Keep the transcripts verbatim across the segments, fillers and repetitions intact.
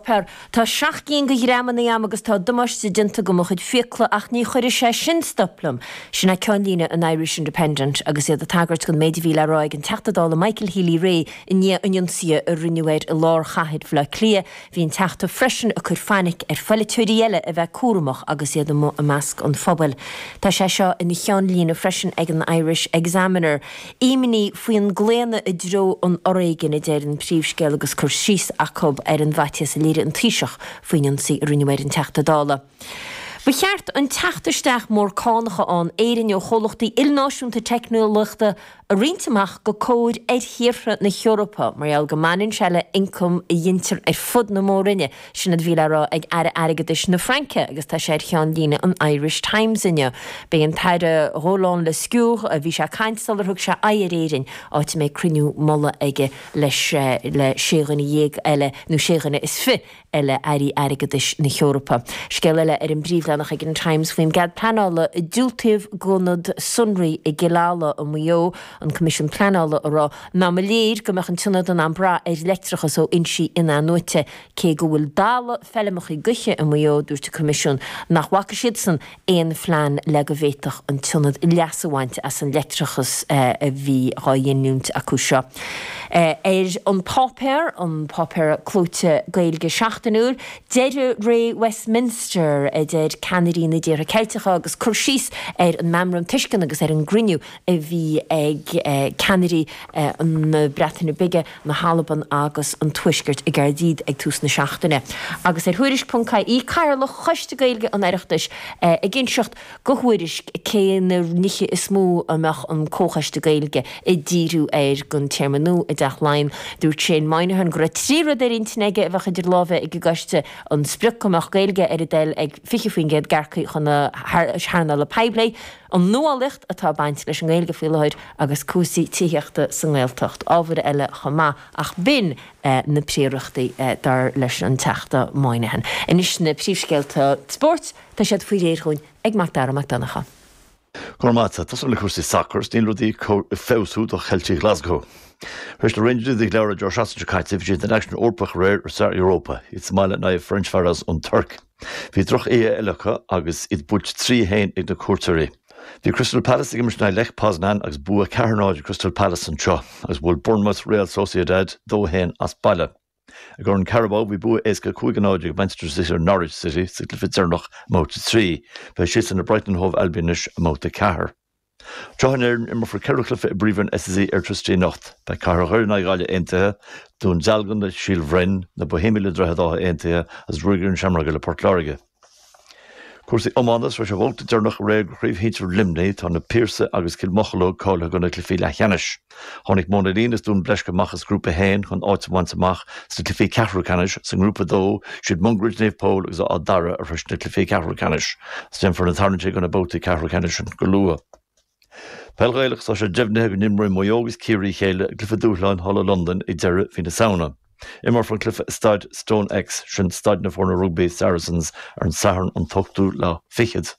bpáipéar, Tá seacht gcinn de ghreamanna a'm agus tá damáiste déanta do mo chuid fiacla ach ní chuirfidh sé sin stop liom. Sin é ceannlíne an Irish Independent agus iad ag tagairt don méid a bhí le rá ag an Teachta Dála Michael Healy-Rae i ndiaidh an ionsaithe a rinneadh air i lár chathair Bhaile Átha Cliath. Bhí an Teachta freisin ag cur fainic ar pholaiteoirí eile a bheith cúramach agus iad amuigh i measc an phobail. Tá sé seo ina cheannlíne freisin ag an Irish Examiner. Imní faoin gclaonadh i dtreo an fhoréigin a deir an príomhscéal agus cur síos acu ar an bhfaitíos a léirigh an Taoiseach faoin ionsaí a rinneadh ar an Teachta Dála. Ba cheart an teacht isteach mór cánach in Éirinn ó chomhlachtaí ilnáisiúnta teicneolaíochta a roinnt amach go cóir ar thíortha na hEorpa, mar gheall go mbaineann sé le ioncam a ghintear ar fud na mór-roinne, sin a bhí le rá ag Aire Airgeadais na Fraince agus tá sé ar cheannlíne an Irish Times inniu. B'é an tAire Roland Lescure a bhí sé ag caint sular thug sé aghaidh ar Éirinn, áit a mbeidh cruinniú mullaigh aige leis le sé dhuine dhéag eile nó sé dhuine is fiche eile airí airgeadais na hEorpa. Scéal eile ar an bpríomhleathanach ag an Times faoin gcead pleanála a diúltaíodh d'ionad sonraí i gCill Ala i Maigh Eo, an Coimisiún Pleanála ag rá nach mba léir go mbeadh an t-ionad in ann brath ar leictreachas ó fhoinsí in-athnuaite cé go bhfuil dalladh feilmeacha gaoithe i Maigh Eo dúirt an Coimisiún nach bhfaca siadsan aon phlean le go bhféadfadh an t-ionad leas a bhaint as an leictreachas a bhí á ghiniúint acu seo. Ar an páipéar an páipéar clóite Gaeilge seachtainiúil, deireadh ré Westminster a deir ceannairí na dtíortha Ceilteacha agus cur síos ar an meamram tuisceana agus ar an gcruinniú a bhí ag ceannairí na Breataine Bige, na hAlban agus an Tuaiscirt i gCaerdydd ag tús na seachtaine. Agus ar Thuairisc.ie Cathaoirleach Choiste Gaeilge an Oireachtais ag inseacht do Thuairisc cé na nithe is mó a mbeadh an Comhchoiste Gaeilge ag díriú air don téarma nua i dTeach Laighean. Dúirt Shane Moynihan go raibh trí rud ar intinn aige a bheadh idir lámha ag an gcoiste an sprioc go mbeadh Gaeilge ar a dtoil ag fiche faoin gcéad d'earcaigh chun na hearnála poiblí, an nuálaíocht atá ag baint leis an nGaeilge faoi láthair agus cúrsaí tithíochta sa nGaeltacht, ábhair eile chomh maith ach b'in na príorachtaí dar leis an Teachta Moynihan. Anois na príomhscéalta spóirt, tá siad faoi réir dhúinn ag Macdara Mac Donncha. Go maith tá le cúrsaí sacair níl rudaí ag feabhsú do Cheiltigh Glasgow. Ris le Rangers ag leir Joe Sean caite bhí den action Eorpach réir ar Europa, iad sa mbaile in aghaidh Ferencváros ón Tuirc. Bhí drochoíche eile acu agus iad buailte trí haon ag na cuairteoirí. Bhí Crystal Palace ag imirt Lech Poznan agus bua ceathair náid Crystal Palace anseo, agus bhuail Bournemouth Real Sociedad dó haon as baile. I gCorn Carabao bhí bua éasca cúig a náid ag Manchester City ar Norwich City sa gcluiche deireanach i mbabhta trí, beidh siad le Brighton Hove Albion anois i mbabhta ceathair. Anseo in Éirinn imreofar ceithre chluiche i bPríomhroinn SSE Airtricity anocht, beidh Cathair Dhoire in aghaidh Ghaillimh Aontaithe, Dún Dealgan le Síol Bhroin, na Boihéamaigh le Droichead Átha Aontaithe agus Ruagairí na Seamróige le Port Láirge. Cúrsaí iomána tar éis an babhta deireanach aréir de chraobh shinsir Luimnigh tá na Piarsaigh agus Cill Mocheallóg cáilithe do na cluichí leathcheannais. Tháinig Móna Lín is Dún Bleisce amach as grúpa haon chun áit a bhaint amach sna cluichí ceathrú ceannais sa ngrúpa dó siad Mungairit Naomh Pól agus Áth Dara a shrois na cluichí ceathrú ceannais. Déanfar na tarraingtí do na babhtaí ceathrú ceannais go luath. Peil Ghaelach tá sé deimhnithe go n-imreoidh Maigh Eo agus Ciarraí a chéile i gcluiche dúshláin thall i Londain ag deireadh mhí na Samhna. Imreofar an cluiche i staid StoneX sin staid na foirne rugbaí Saracens ar an Satharn an t-ochtú lá fichead.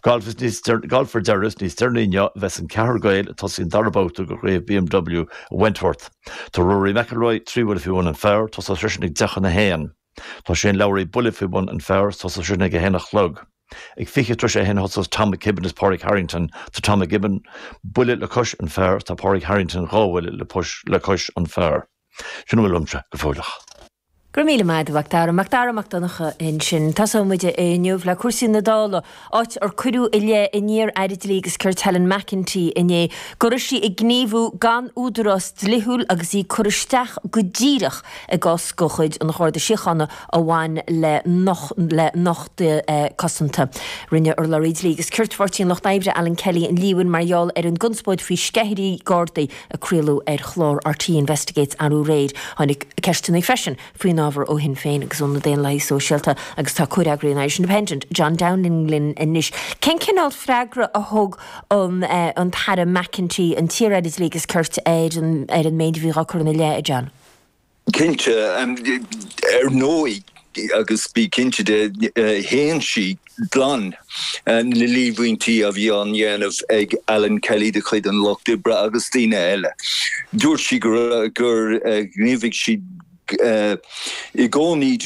Galf is níos galf ar deireadh níos deireanaí inniu a bheas an ceathrar Gael ag tosaí an dara babhta de chraobh BMW i Wentworth. Tá Rory McIlroy trí bhuille faoi bhun an phar, tosóidh seisean ag deich chun a haon. Tá Shane Lowry buille faoi bhun an phar, tosóidh seisean ag a haon a chlog. Ag fiche tar éis a haon a thosós Tom McKibbin is Pádraig Harrington tá Tom McKibbin buille le cois an phar tá Pádraig Harrington dhá bhuille le le cois an phar. Sin bhfuil uaimse go fóilleach. Go raibh míle maith agat Macdara, Macdara Mac Donncha ansin. Tosóidh muid inniu le cúrsaí na Dála, áit ar cuireadh i leith an iar-aire dlí agus cirt Helen McEntee inné go raibh sí ag gníomhú gan údarás dlíthiúil agus í ag cur isteach go díreach i gcás de chuid an Gharda Síochána a bhain le le nochtadh cosanta. Rinne urlabhraí dlí agus cirt Pháirtí an Lucht Oibre Alan Kelly an líomhain mar gheall ar an gconspóid faoi sceithirí Gardaí a craoladh ar chlár RTÉ Investigates arú aréir. Tháinig ceisteanna freisin faoin ábhar ó Shinn Féin agus ó na Daonlathaithe Sóisialta agus tá comhfhreagraí an Irish Independent, John Downing linn anois. Cén cineál freagra a thug an an tAire McEntee an t-iar-aire dlí agus cirt ar an ar an méid a bhí á chur ina leith, John? Cinnte ar ndóigh agus bí cinnte de shéan sí glan na líomhaintí a bhí á ndéanamh ag Alan Kelly de chuid an Lucht Oibre agus daoine eile. Dúirt sí gur gur ghníomhaigh sí i gcónaí